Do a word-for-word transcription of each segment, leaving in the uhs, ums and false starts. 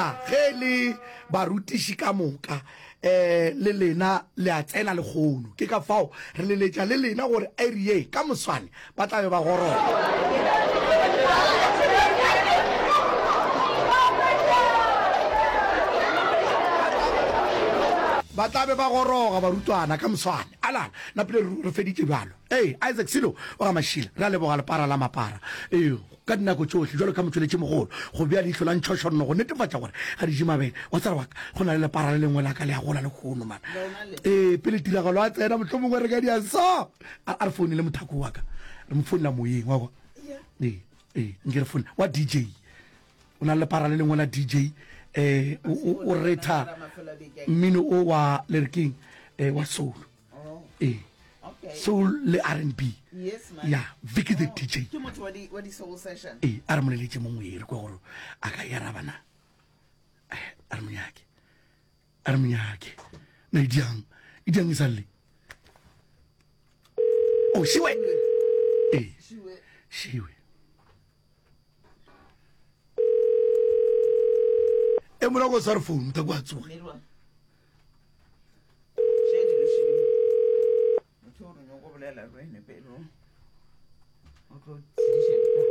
Gona ge le barutiši ka moka um le lena le a tsena lekgono. Ke ka fao re leletša le lena gore iri ye ka moswane ba tla be ba goroga. Ba tla be ba goroga barutwana ka moswane. Alala, napile re feditše bjalo. Ee, Isaac Silo wa ga Mašila, re a leboga lepara la mapara. Ee, ka dinako tšohle, bjalo ka motšweletšimogolo, go bea leihlo la ntšhošonno go netefatša gore ga di je mabele. Wa tseba wa ka, go na le lepara le lengwe la ka le a gola lehono, man. Ee, pele tiragalo a tsena, mohlomongwe re ka dia so. A, a re founele mothako wa ka. Re mo founela moyeng, wa kwa. Ee, ee, nke re foune. Wa D J. O na le lepara le lengwe la D J, eh, o, o, o retha mmino o wa, le re keng, eh, wa soul. Ee. Soul le R and B. Yes, man. Ya, Vicky the D J. Ke motho wa di wa di soul session. Ee, a re mo leletše mo moyeng re kwe gore a ka e araba na. Eh, a re monyake, a re monyake na e diang, e diang e sa lle. Oh, šiwe. Ee. Šiwe. Šiwe. E morago o sware phone ta kwa tsoga. Merwa. Še dilo šele. Motho o re nyoko bolela le wena pele o. O tlo tsediša ditaba.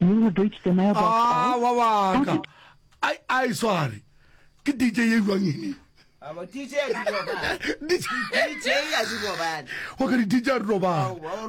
You have reached the mailbox Ah, of wa wa ka. Ai ai sware. Ke D J ye jwang ene? Aba D J a di robala. D J D J a di robala. Wa ka di D J a di robala. Aowa, o